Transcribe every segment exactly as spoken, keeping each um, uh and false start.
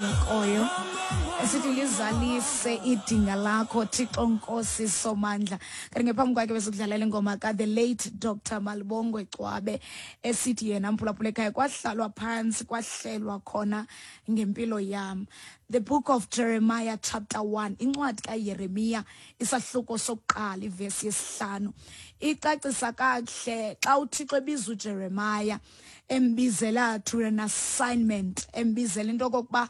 Koyo esithi lizalise idinga lakho, Thixo Nkosi Somandla. Kanti ngephambi kwakhe besikudlalela ingoma ka the late Doctor Malibongwe Gcwabe, esithi yena, mphulaphula ekhaya, kwahlalwa phantsi kwahlelwa khona ngempilo yam. The Book of Jeremiah chapter one, incwadi kaYeremiya isahluko sokuqala, ivesi yesihlanu, icacisa kakuhle xa uThixo ebiza uJeremiah, embizela to an assignment, embizela into okokuba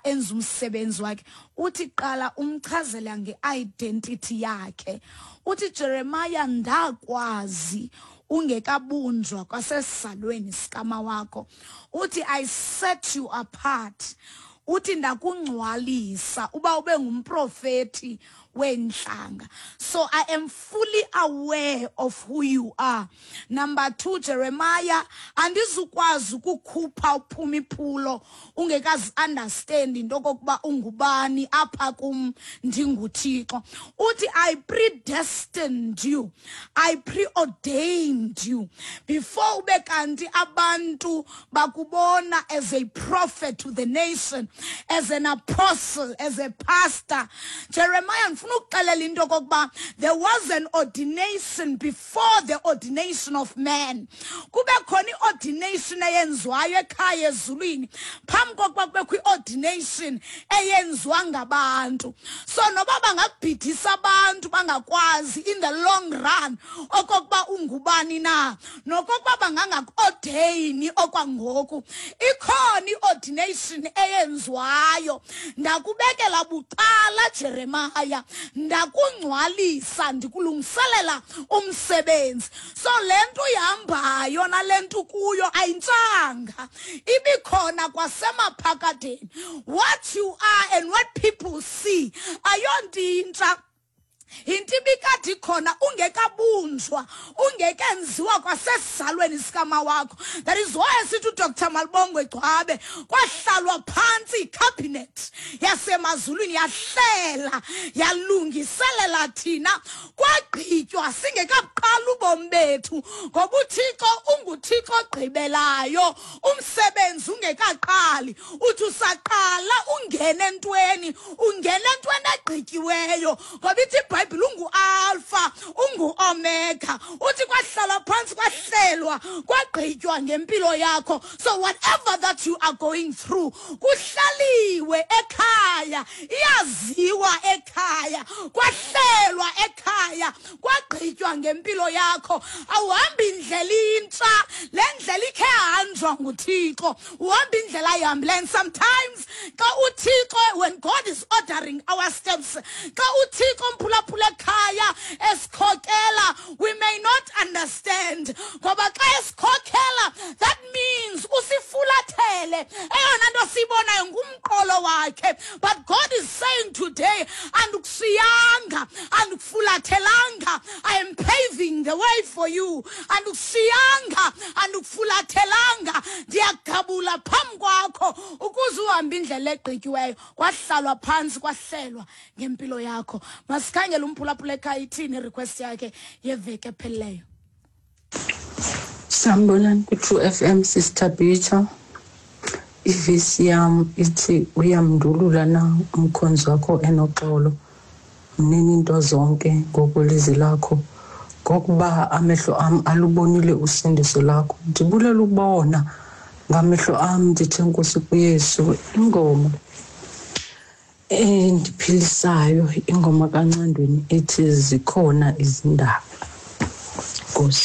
enze umsebenzi wakhe. Uthi qala umchazela nge-identity yakhe. Uthi, "Jeremiah, ndakwazi ungekabunjwa kwasesizalweni sikama wakho." Uthi, "I set you apart." Uthi, "Ndakungcwalisa uba ube ngumprofeti weentlanga." So I am fully aware of who you are. Number two, Jeremiah, andizukwazi ukukhupha uphuma iphulo ungekazi understand into okokuba ungubani apha kum ndinguThixo. Uthi, "I predestined you, I preordained you before ube kanti abantu bakubona as a prophet to the nation, as an apostle, as a pastor." Jeremiah, ndifuna ukuxelela into okokuba there was an ordination before the ordination of man. Kube khona i-ordination eyenziwayo ekhaya ezulwini phambi kokuba kubekho i-ordination eyenziwa ngabantu. So noba bangakubhidisa abantu, bangakwazi in the long run okokuba ungubani na, nokokuba bangangaku-ordayini okwangoku, ikhona i-ordination eyenziwayo. "Ndakubekela bucala, Jeremiah, ndakungcwalisa, ndikulungiselela umsebenzi." So le nto uyihambayo nale nto kuyo ayintshanga, ibikhona kwasemaphakadeni. What you are and what people see ayonto intsha, yinto ibikade ikhona ungekabunjwa, ungekenziwa kwasesizalweni sikama wakho. That is why sithi uDr Malibongwe Gcwabe, kwahlalwa phantsi icabinet yasemazulwini, yahlela, yalungiselela thina, kwagqitywa singekabuqala ubomi bethu, ngoba uThixo unguThixo ogqibelayo umsebenzi ungekaqali. Uthi usaqala ungene entweni, ungene entweni egqityiweyo, ngoba ithi iBhayibhile ungu-Alpha, ungu-Omega. Uthi kwahlala phantsi, kwahlelwa, kwagqitywa ngempilo yakho. So whatever that you are going through, kuhlaliwe ekhaya, iyaziwa ekhaya, kwahlelwa ekhaya, kwagqitywa ngempilo yakho. Awuhambi indlela intsha, le ndlela ikhe yahanjwa nguThixo. Uhamba indlela ayihambileyo. And sometimes xa uThixo, when God is ordering our steps, xa uThixo, mphulaphula ekhaya, esikhokela, we may not understand, ngoba xa esikhokela, that means usifulathele. Eyona nto siyibonayo ngumqolo wakhe. But God is saying today, "Andikushiyanga, andikufulathelanga. I am paving the way for you. Andikushiyanga, andikufulathelanga, ndiyagabula phambi kwakho ukuze uhambe indlela egqityiweyo." Kwahlalwa phantsi, kwahlelwa ngempilo yakho. Masikhangele umphulaphula ekhaya, ithini irequest yakhe yeveki ephelileyo. Sanibonani ku-True F M, Sister Bitha. Ivesi yam ithi, "Uyamndulula na umkhonzi wakho enoxolo? Mnini into zonke ngokwelizwi lakho. Ngokuba amehlo am alubonile usindiso lakho. Ndibulela ukubona ngamehlo am, ndithi enkosi kuYesu." Ingoma endiphilisayo, ingoma kaNcandweni ethi "Zikhona Izindaba".